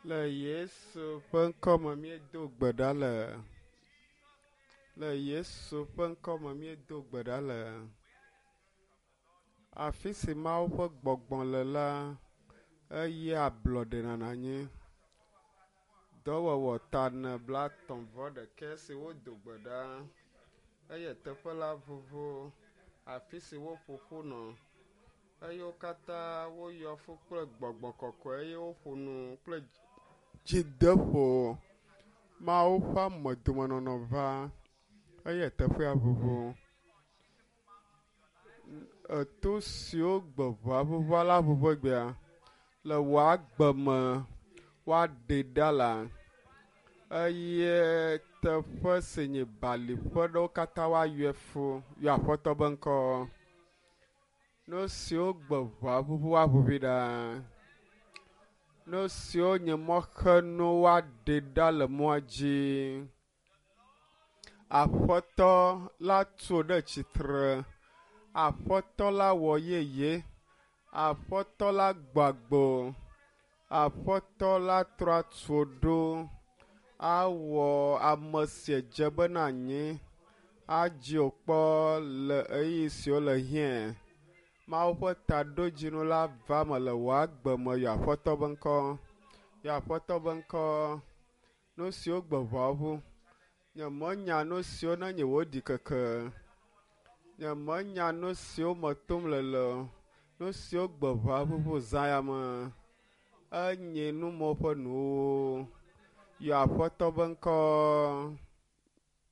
Le Yesu ƒe ŋkɔ me míedo gbe ɖa le. Le Yesu ƒe ŋkɔ me míedo gbe ɖa le. Afi si Mawu ƒe gbɔgbɔ le la, eye ablɔɖe nɔna anyi. Dɔwɔwɔ ta ne blatɔ̃ vɔ ɖekɛ si wodo gbe ɖa eye teƒe la vovo afi si woƒo ƒu nɔ eye wo katã woyɔ fũ kple gbɔgbɔ kɔkɔe eye woƒo nu kple dzideƒo. Mawu ƒe amedomenɔnɔ va eye teƒea vovo. Eto siwo gbe ʋua ʋuʋua la ʋuʋu egbea le wò agbe me woaɖe ɖa la eye teƒe si nye bali ƒe ɖewo katã woayɔe fũ yɔ aƒetɔ be ŋkɔ. Nu siwo gbe ʋua ʋuʋu woaʋuʋui ɖa. Nu siwo nye mɔxenu woaɖe ɖa le mɔa dzi. Aƒetɔ la tu ɖe tsitre. Aƒetɔ la wɔ yeye. Aƒetɔ la gbagbo. Aƒetɔ la trɔ atu ɖo. Awɔ ame si dze bena anyi. Adzi wò kpɔ le ɣeyiɣi siwo le hiã. Mawu ƒe taɖodzinu la va me le wò agbe me yɔ Aƒetɔ be ŋkɔ. Yɔ Aƒetɔ be ŋkɔ. Nu siwo gbe ʋua ʋu. Nyemenya nu siwo ne nye wò ɖikeke. Nyemenya nu siwo me tom le le o. Nu siwo gbe ʋua ʋuʋu zã ya me. Enye numɔ ƒe nuwo. Yɔ Aƒetɔ be ŋkɔ.